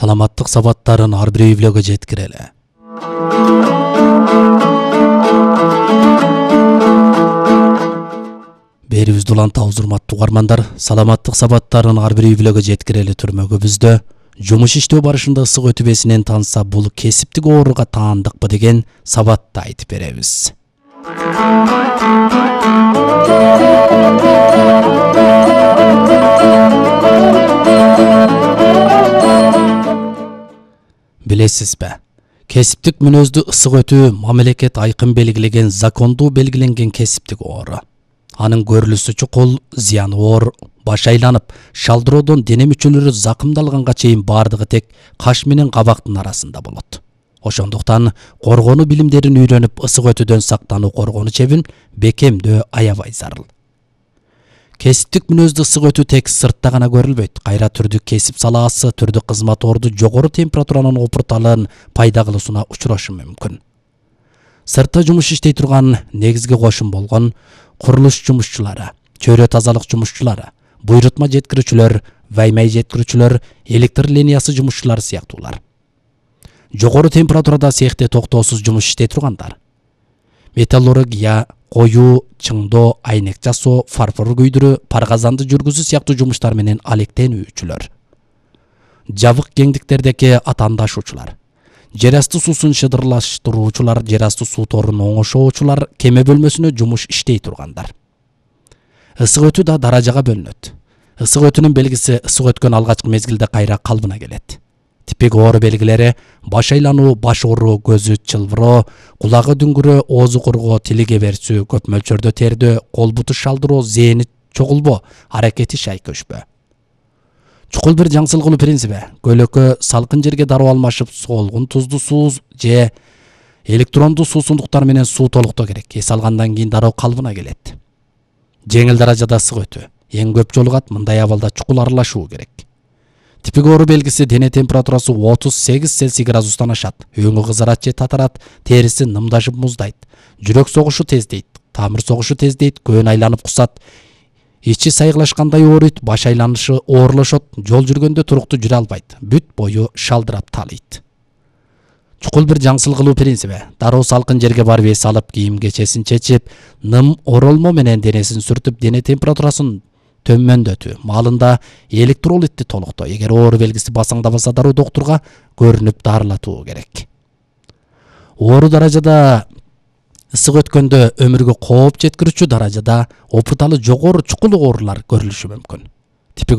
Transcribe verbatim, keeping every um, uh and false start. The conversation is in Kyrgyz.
Саламаттык сабаттарын ар бир үй-бүлөгө жеткирели. Берибизди уланта урматтуу угармандар, саламаттык сабаттарын ар бир үй-бүлөгө жеткирели түрмөгүбүздө жумуш иштөө барышында ысык өтүбесинен танса бул кесиптик ооруга таандыкпы деген сабатты айтып беребиз. Билесизби? Кесиптик мүнөздү ысык өтүү мамлекет айкын белгилеген закондуу белгиленген кесиптик оору. Анын көрүлүшү чукул, зыяны оор, баш айланып, шалдыроодон дене мүчөлөрү закымдалганга чейин бардыгы тек каш менен кабактын арасында болот. Ошондуктан коргонуу билимдерин үйрөнүп ысык өтүүдөн сактануу коргонуу чебин бекемдөө аябай зарыл. Кесиптик мүнөздү ысык өтүү тек сыртта гана көрүлбөйт. Кайра түрдүк кесип салаасы, түрдүк кызмат орду жогору температуранын опурталын пайда кылуусуна учурашы мүмкүн. Сыртта жумуш иштей турган негизги кошун болгон курулуш жумушчулары, чөйрө тазалык жумушчулары, буйрутма жеткирүүчүлөр, ваймай жеткирүүчүлөр, электр линиясы жумушчулары сыяктуулар. Жогору температурада цехте токтоосуз жумуш иштей тургандар. Металлургия, коюу, чыңдоо, айнек жасоо, фарфор күйдүрүү, паргазанды жүргүзүү сыяктуу жумуштар менен алектенүүчүлөр. Жабык кеңдиктердеги атаандашуучулар, жер асты суусун шыдырлаштыруучулар, жер асты суу торун оңошоочулар, кеме бөлмөсүнө жумуш иштей тургандар. Ысык өтүү да даражага бөлүнөт. Ысык өтүүнүн белгиси ысык өткөн алгачкы мезгилде кайра калыбына келет. Типик оору белгилери: баш айлануу, баш ооруу, көзү чылбыроо, кулагы дүңгүрөө, оозу кургоо, тили кеберсүү, көп мөлчөрдө тердөө, кол буту шалдыроо, зээни чогулбоо, аракети шайкөшпө. Чукул бир жаңсыл кылуу принциби: көлөкө салкын жерге дароо алмашып, солгун тузду суу же электрондуу суусундуктар менен суу толуктоо керек. Эс алгандан кийин дароо калыбына келет. Жеңил даражада ысык өтүү эң көп жолугат. Мындай абалда чукул аралашуу керек. Типик оору белгиси: дене температурасы отуз сегиз Цельсий градустан ашат, өңү кызарат же татарат, териси нымдашып муздайт, жүрөк согушу тездейт, тамыр согушу тездейт, көөн айланып кусат, ичи сайгылашкандай ооруйт, баш айланышы оорлошот, жол жүргөндө туруктуу жүрө албайт, бүт бою шалдырап талыйт. Чукул бир жаңсыл кылуу принциби: дароо салкын жерге барып эс алып, кийим кечесин чечип, ным оролмо менен денесин сүртүп, дене температурасын төмөндөтүү, маалында электролитти толуктоо. Эгер оору белгиси басаңдабаса, дароо доктурга көрүнүп дарылатуу керек. Оору даражада ысык өткөндө өмүргө кооп жеткирүүчү даражада опурталы жогору чукул оорулар көрүлүшү мүмкүн.